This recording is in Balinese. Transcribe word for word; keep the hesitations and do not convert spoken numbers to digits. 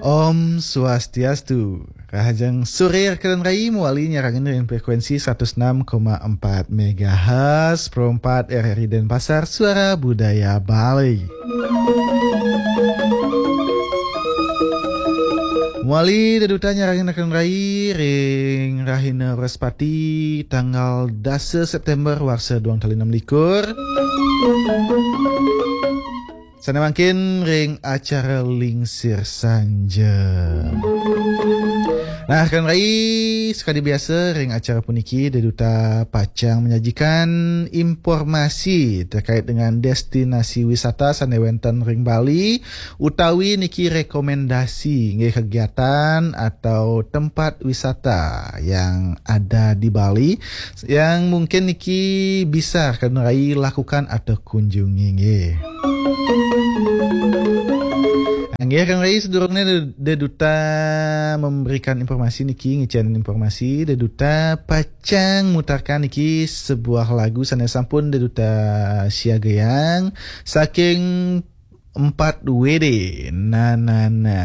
Om Swastiastu. Rahajeng sore rekan rai, mawali nyarengin ring frekuensi seratus enam koma empat megahertz, Pro empat R R I Denpasar, Suara Budaya Bali. Mawali deduta nyarengin rekan rai ring rahina Wrespati tanggal dasa September warsa dua tali enam likur. Sane mangkin ring acara Lingsir Sanja. Nah, rekan rai, sakadi biasa ring acara puniki, deduta pacang menyajikan informasi terkait dengan destinasi wisata sane wenten ring Bali, utawi niki rekomendasi nggih kegiatan atau tempat wisata yang ada di Bali yang mungkin niki bisa rekan rai lakukan atau kunjungi nggih. Nggih, rekan rai, sedurungnya deduta memberikan informasi niki, ngicen informasi, deduta pacang mutarkan niki sebuah lagu sane sampun deduta siagayang saking empat W D. Na, na, na.